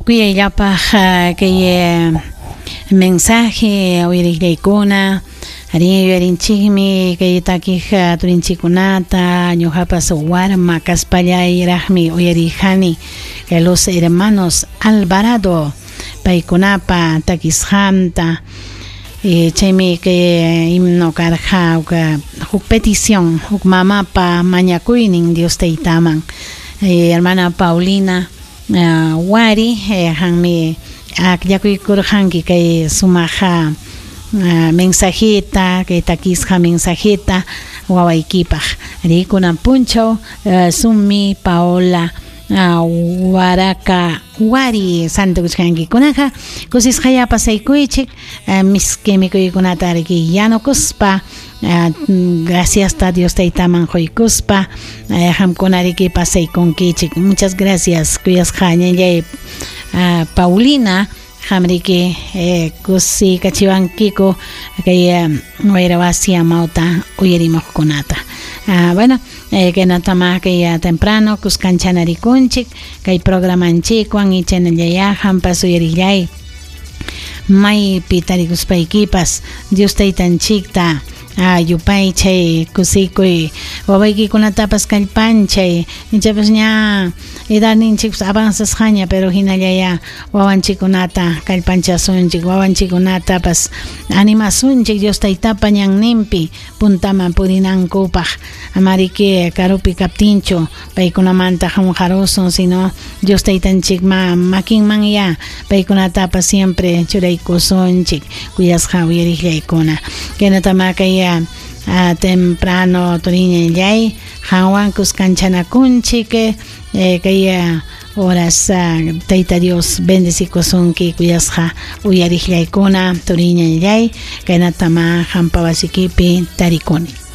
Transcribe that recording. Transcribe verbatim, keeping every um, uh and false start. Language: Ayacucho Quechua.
Kuyayllapaq kay mensaje uyariqllaykuna arí yuyarinchikmi kay takiq turinchikunata ñuqapas warma kaspallayraqmi uyarihani los hermanos Alvarado paykunapa takisqanta. Eh, chaymi kay himno karqa huk petición huk mamapa mañakuynin Dios taytaman. Eh, hermana Paulina uh, Wari eh, hanmi akllakuykurqanki kay sumaqa uh, mensajita kay takisqa mensajita wawaykipaq ari kunan punchaw uh, summi Paola uh, waraka wari santukuchkanki-kunaqa kusisqaya pasaykuychik uh, miski mikuykunata riki yanukuspa uh, gracias a Dios taytaman quykuspa uh, qamkuna riki pasaykunkichik. Muchas gracias kuyasqa ñañay uh, Paulina qamriki eh, kusi kachiwankiku kay wayra wasi amawta uyarimuqkunata. Ah, bueno, eh, kaynatama kay temprano kuskanchana-rikunchik kay programanchikwan y chaynallaya qampas uyarillay maypi tarikuspaykipas Dios taytanchikta yupaychay kusikuy wawaykikunatapas kallpanchay ichapas ña edadninchikpas avanzasqaña pero hinallaya wawanchikkunata kallpanchasunchik wawanchikkunatapas animasunchik Dios taytapa ñanninpi puntaman purinankupaq amariki karupi kaptinchu paykunamanta qunqarusun sino Dios taytanchik ma makinman ya paykunatapas siempre churaykusunchik kuyasqa uyariqllaykuna kaynatama kay Uh, temprano turiñallay qanwan kuskanchanakunchik eh, kay horas uh, tayta Dios bendecikusunki kuyasqa uyariqllaykuna turiñallay kaynatama qampa wasikipi tarikuni.